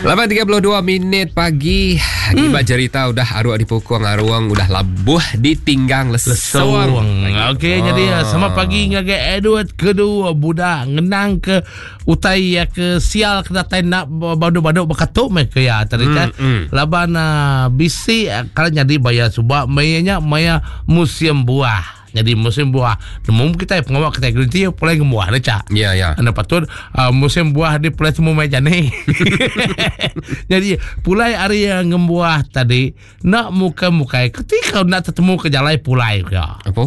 8.32 minit pagi Agi ba jerita udah aruk dipukung arung udah labuh ditinggang lesung. Lesung. Okey Ah. jadi selamat pagi ngagai Edward kedua budak ngenang ke utai ya ke sial ke datai nak badu-badu bekatuk meh ke ya tadi kan. Laban uh, bisi uh, kalau nyadi bayar suba maya nya maya musim buah. Nyadi musim buah nemu kitai pengawa kitai gerenti pulai ngembuah ne cak. Ya ya. Anda patut uh, musim buah di pulai semua mai jani. Jadi pulai hari uh, ngembuah tadi nak muka-mukai ketika nak tetemu ke jalai pulai ke. Apa?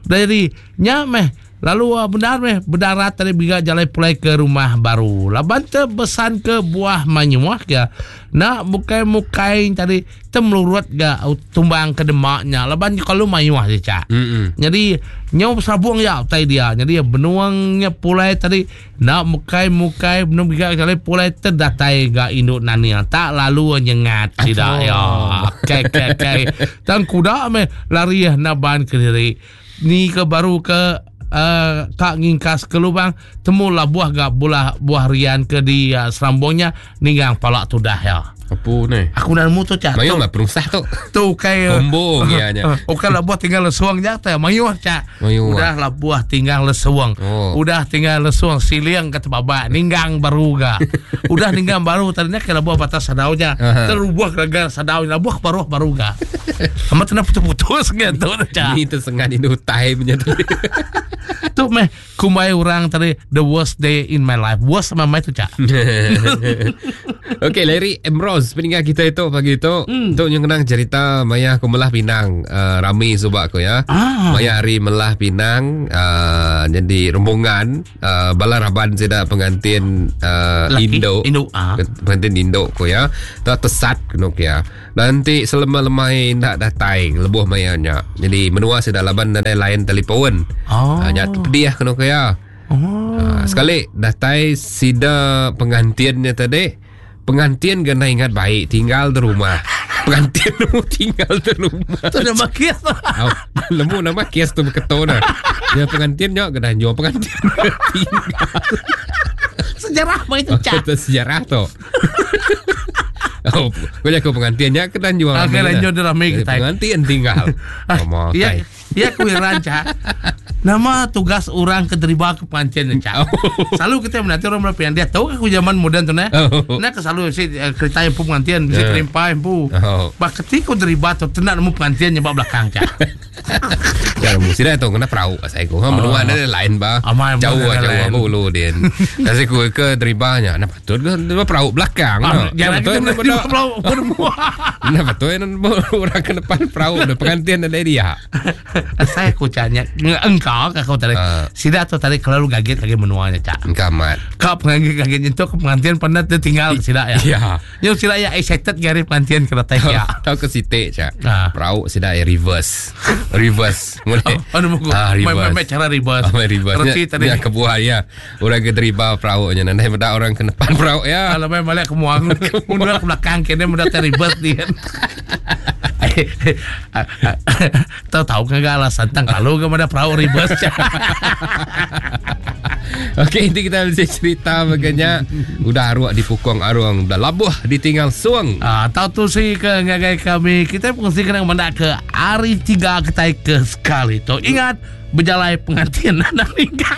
Jadi nya meh lalu uh, benar meh berdarat tadi biga jalai pulai ke rumah baru. Laban te besan ke buah manyuah ke nak mukai-mukai tadi temelurut ga tumbang ke demak nya laban kalau mayuh je cak. Mm-mm. Jadi nyau sabung ya utai dia. Jadi benuang nya pulai tadi nak mukai-mukai benung biga jalai pulai terdatai ga induk nania tak lalu nyengat sida ya. Kai kai kai. Tang kuda meh lari naban ke diri. Ni ke baru ke uh, ka ngingkas ke lubang temu lah buah ga bulah buah rian ke di uh, serambungnya ninggang pala tudah ya. Apa ni? Aku dah nemu tu cak. Mayung lah perusah tu. Tu kai Combo ya nya. Bukan lah buah tinggal lesuang je tak mayuh cak. Mayuh. Udah lah buah tinggal lesuang. Oh. Udah tinggal lesuang siliang ke tebabak ninggang baru ga. Udah ninggang baru tadinya ke buah batas sadau nya. Aha. Terubah ke sadau nya buah baru baru ga. Amat kena putus-putus gitu cak. Ni tersengat indu utai punya tu. Tu meh kumbai orang tadi the worst day in my life. Worst sama mai tu cak. Okey, Larry Ambrose peninggal kita itu pagi itu. Mm. Tu yang kenang cerita maya aku melah pinang uh, rami subak aku ya. Ah. Maya hari melah pinang uh, jadi rombongan uh, bala raban sida pengantin uh, Laki, Indo. Indo, ah. Pengantin Indo ko ya. Tak tesat kena ya. Nanti selema-lemai ndak datai lebuh maya nya. Jadi menua sida laban nadai lain telefon. Oh. Uh, nya pedih kena ya. Oh. Ha, sekali datai sida pengantinnya tadi pengantin kena ingat baik tinggal di rumah pengantin nemu tinggal di rumah Tu nama kes. Au, lemu nama kes tu berketo nah ya pengantinnya kena jual pengantin tinggal Sejarah mai tu cak. Itu sejarah tu Oh, kau jago pengantinnya kena jual Ah, kena jual dia rame Jadi kita. Pengantin tinggal. Oh, Ya, ya aku heran cak. Nama tugas orang ke terima ke pengantin cak. Oh. Selalu kita menanti orang berapa yang dia tahu aku zaman muda tu nah. Oh. Nah ke selalu si eh, kereta yang pu pengantin, si Eh. kerimpa yang pu. Oh. Bah ketika terima tu tenak nemu pengantin nyebab belakang cak. Ya, mesti dah tu kena perahu saya ko. Ha menua ada lain ba. Amai, Jauh menua ah, ada jauh lain. apa ulu dia. Kasi ku ke teribanya. Nah patut ke terima perahu belakang. Ah, no. Jangan Nah, kita betul terima perahu berdua. Nah betul orang ke depan perahu dah pengantin ada dia. Saya aku caknya engkau aku tadi. Ah. Sida tu tadi kalau kaget kaget menuanya cak. Kamat. Kau pengantin kaget nyentuh ke pengantin pernah dia tinggal sida ya. Ya. Yang sida ya excited gari pengantin ke datai ya. Tahu ke sitik cak. Ah. Perahu sudah reverse. Reverse. Boleh. Oh, nemu aku. Ah, Main, reverse. main, main cara reverse. Ah, main reverse. Reti Nya- tadi. nya kebuah ya. Orang ke terima perahu nya. Nanti pada orang ke depan perahu ya. Kalau main balik ke muang, mundur ke belakang kena mudah reverse dia. Tahu-tahu kan gak alasan tang kalau ke mana perahu reverse. Okey, ini kita bisa cerita bagainya. Udah arwah dipukung arwang, udah labuh ditinggal suang. Ah, tahu tu si ke ngagai kami kita fungsi kena mendak ke hari tiga kita ke sekali tu. Ingat berjalai pengantin anak nikah.